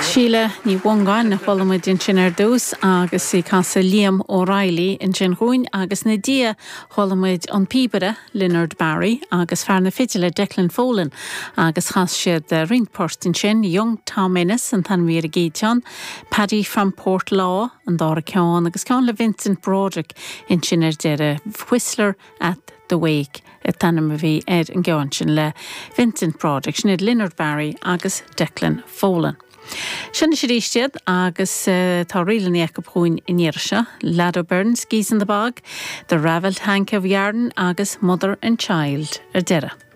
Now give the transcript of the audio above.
Síle Ní Mhongáin a chuala muid ansin ar dtús agus í ag casadh Liam O'Reilly ansin dhúinn agus ina diaidh chuala muid an píobaire Leonard Barry agus fear na fidile Declan Folan agus chas siad roinnt port ansin, Young Tom Ennis an t-ainm a bhí ar an gcéad cheann, Paddy from Portlaw an dara ceann agus ceann le Vincent Broderick ansin ar deireadh, Whistler at the Wake an t-ainm a bhí ar an gceann sin le Vincent Broderick, sin iad Leonard Barry agus Declan Folan. Seo anois arís iad agus tá ríleanna acu chugainn an iarraidh seo, Lado Byrne's Geese in the Bog, The Ravelled Hank of Yarn agus Mother and Child ar deireadh.